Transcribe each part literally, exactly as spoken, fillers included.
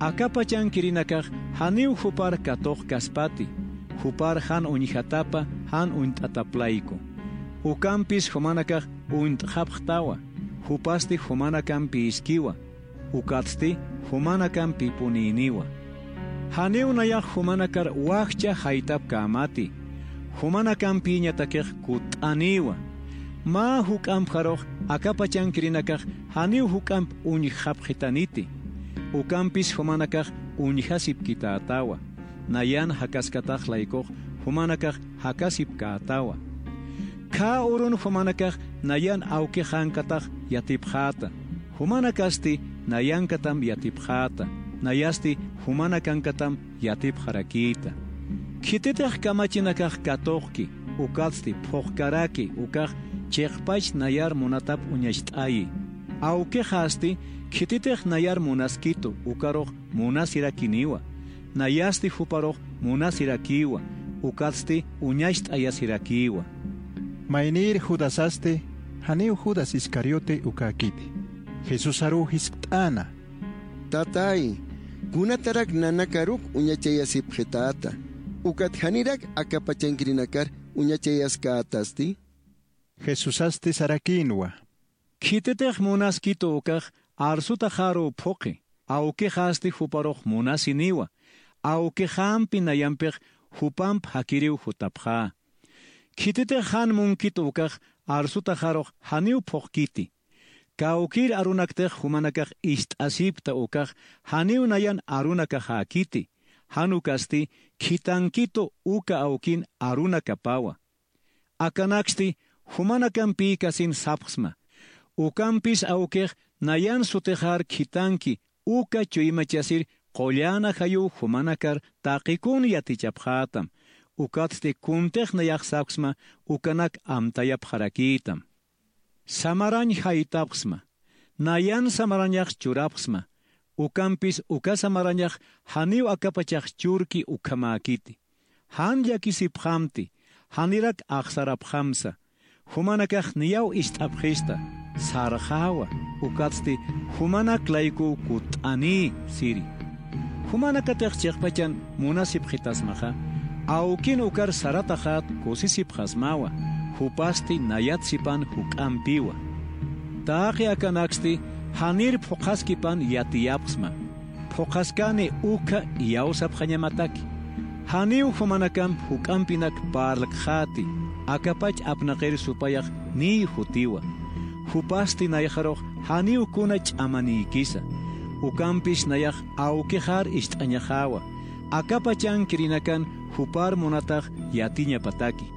Aka pachankirinakax janiw jupar katuqkaspati, jupar jan uñjatapa, jan uñt'atap layku. Ukampis jumanakax uñt'xapxtawa, jupasti jumanakampiskiwa, ukatsti jumanakampipunïniwa. Janiw nayax jumanakar wajcha jaytapkämati, jumanakampïñatakix kutt'anïwa. Mä juk'ampjarux aka pachankirinakax janiw juk'amp uñjxapxitaniti. Ukampis jumanakax uñjasipkitätawa. Nayan jakaskatax laykux jumanakax jakasipkätawa. Khä urun jumanakax nayan awkixankatax yatipxäta. Jumanakasti nayankatam yatipxäta. Nayasti jumanakankatam yatipxarakïta. Khititix kamachinakax katuqki, ukatsti phuqkaraki, ukax chiqpach nayar munatap uñacht'ayi. Awkixasti khititix nayar munaskitu, ukarux munasirakiniwa. Nayasti juparux munasirakïwa, ukatsti uñacht'ayasirakïwa. Maynïr Judasasti, janiw Judas Iscariote ukäkiti, Jesusaruw jiskt'äna: —Tatay, ¿kunatarak nanakaruk uñachayasipxitäta? ¿Ukat janirak aka pachankirinakar uñachayaskätasti? Jesusasti sarakïnwa: —Khititix munaskitu ukax arsutaxaruw phuqi, awkixasti juparux munasiniwa, awkixampi nayampix jupamp jakiriw jutapxä. Khititix jan munkitu ukax arsutaxarux janiw phuqkiti. Kawkïr arunaktix jumanakax ist'asipkta ukax janiw nayan arunakaxäkiti, jan ukasti khitankitu uka awkin arunakapawa. Akanaksti jumanakampiskasin sapxsma. Ukampis awkix nayan sutixar khitanki uka chuymachasir qullan ajayuw jumanakar taqikun yatichapxätam. Ukatsti kuntix nayax sapxsma ukanak amtayapxarakïtam. Samarañ jaytapxsma, nayan samarañax churapxsma, ukampis uka samarañax janiw akapachax churki ukhamäkiti. Jan llakisipxamti, janirak axsarapxamsa, jumanakax niyaw ist'apxista, sarxäwa, ukatsti jumanak laykuw kutt'anï siri. Jumanakatix chiqpachan munasipxitasmaxa, awkin ukar sarataxat kusisipxasmawa, jupasti nayat sipan juk'ampiwa. Taqi akanaksti janir phuqhaskipan yatiyapxsma. Phuqhaskani ukha iyawsapxañamataki. Janiw jumanakamp juk'ampinak parlkxäti, akapach apnaqir supayax niy jutiwa. Jupasti nayaxarux janiw kuna ch'amanïkisa. Ukampis nayax awkixar ist'añaxäwa. Aka pachankirinakan jupar munatax yatiñapataki.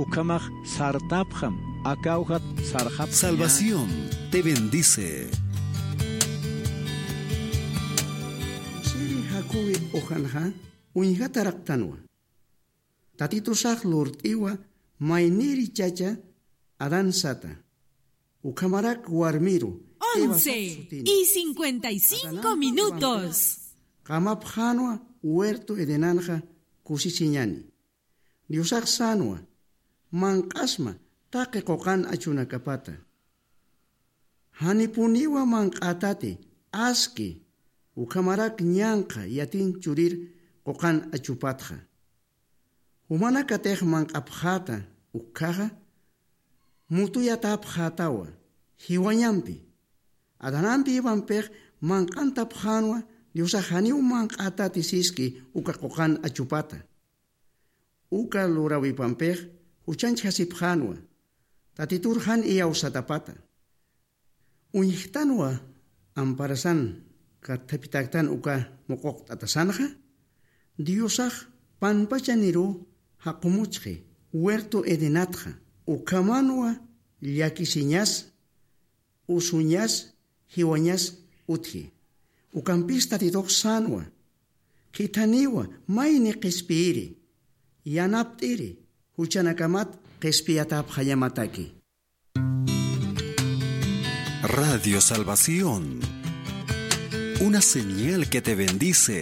Ukhamax sartapxam, aka awjat sarxapxañäni. Salvación te bendice. Siri Jacobi ujanxa uñjataraqtanwa. Tatitusax lurt'iwa mayniri chacha Adán sata. Ukhamarak warmiru Eva sat sutini. Once y cincuenta y cinco minutos. Qamapxänwa huerto Edenanxa kusisiñani. Diosax sänwa, manq'asma taqi quqan achunakapata. Janipuniwa manq'ätati, aski, ukhamarak ñanqha yatin churir quqan achupatxa. Jumanakatix manq'apxäta ukkhaxa, mutuyatapxätawa, jiwañampi. Adanampi Evampix manq'antapxänwa Diosax janiw manq'ätati siski uka quqan achupata. Uka lurawipampix juchanchjasipxänwa, Tatitur jan iyawsatapata. Uñjtanwa amparasan kathapitaktan uka muquqt'atasanxa, Diosax panpachaniruw jaqumuchxi huerto Edenatxa, ukhamanwa llakisiñas, usuñas, jiwañas utji. Ukampis Tatitux sänwa, khithaniwa mayni qhispiyiri, yanapt'iri, juchanakamat qhispiyatapxañamataki. Radio Salvación, una señal que te bendice.